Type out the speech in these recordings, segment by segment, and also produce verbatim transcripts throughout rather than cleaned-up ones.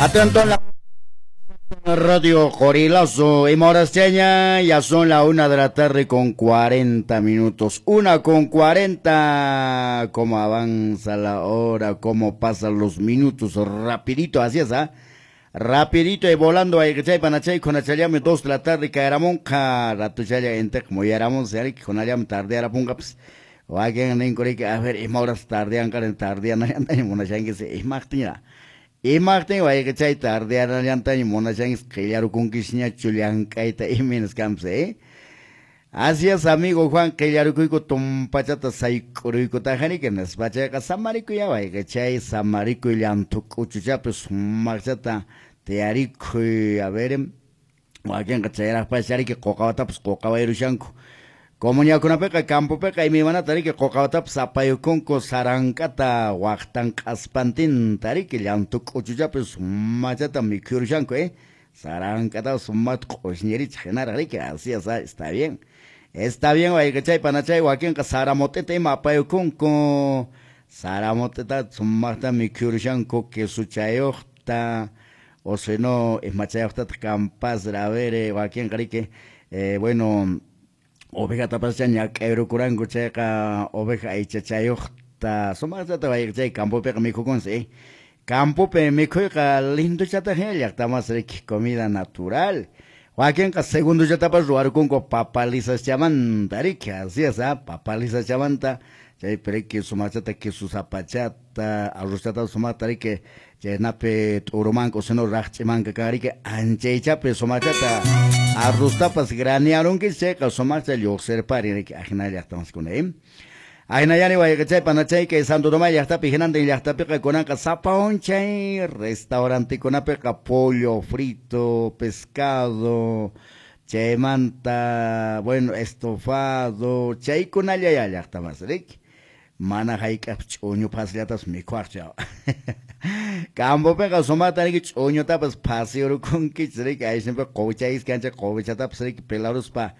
Atento en la Radio Qorilazo y Morasteña, ya son la una de la tarde con cuarenta minutos. Una con cuarenta. Cómo avanza la hora, cómo pasan los minutos. Rapidito, así es, ¿ah? Rapidito y volando ahí, chay panachay con achayame dos de la tarde caeramon, ratuchaya ente como yaramon, se con allá tarde arapunga, pues. Wakin ninkuriki, a ver, ima horas tardean, karen tardean, andaña munashanki, imaqtin imaqtin wayqichay tardeanallantaña munashanki, qillarukunkisñachu llank'ayta imaynas kanpas, eh? Así es, amigo Juan, qillarukuyku tumpachata sayk'uruykutajani, nispa chayqa samarikuy wayqichay, samarikuy llanthu k'uchuchapi sumaqchata tiyarikuy, a ver, wakinqa chayraqpas riki quqawatapas quqawayrushanku. Comunidadkunapiqa campopiqa imaymanata riki quqawatapas apayukunku sarank'ata waqtan q'aspantinta riki llanthu k'uchuchapi sumachata mikhurushanku, eh? Sarank'ata sumata q'ushñirichik hinaraq riki, así es, está bien. Está bien, wayqichay panachay wakinqa saramot'ita ima apayukunku, saramot'ita sumaqta mikhurushanku quesuchayuqta, o si no imachayuqtataq kanpas, a ver, wakinqa riki, eh, bueno, ovejatapas ñak'ayrukuranku chayqa oveja aychachayuqta sumaqchata wayqichay campopiqa mikhukunsi, eh? Campopi mikhuyqa linduchataq hina llaqtamas riki comida natural. Wakinqa segunduchatapas ruwarukunku papalisaschamanta riki, así es, ah, papalisaschamanta chaypi riki sumaqchata queso zapachata arrozchata sumaqta riki chaynapi t'urumanka o sino raqch'imanka kan riki anchaychapi sumaqchata arroztapas granearunki chayqa sumaqcha lluqsirparin riki ajina llaqtamaskuna, eh? Ajinayani wayqichay panachay kay Santo Tomás llaqtapi hinantin llaqtapiqa kunanqa sapa unchay restaurantekunapiqa pollo frito, pescado, chaymanta, bueno, estofado, chaykunalla ya llaqtamas riki. Mana hayk'aq ch'uñu phasillatapas mikhuaqchu. Campopiqa sumaqta riki ch'uñutapas phasiyurukunkichis riki, aysinpi quwichayis kanchik quwichatapas riki pelaruspa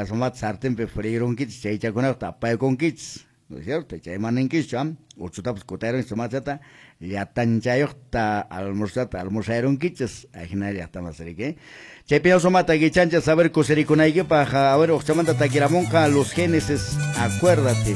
sumaqta sartenpi freirunkichis chaychakunata apaykunkichis, ¿no es cierto? Chayman ninkischu, ¿ah? Uchutapas kutayarunkichis sumaqchata llatanchayuqta almorzata almorzayarunkichis, ajina llaqtamas riki. Chaypi sumaqta kichanchis saber kusirikunaykipaq, a ver, uqchamanta takiramunqa Los Génesis, acuérdate.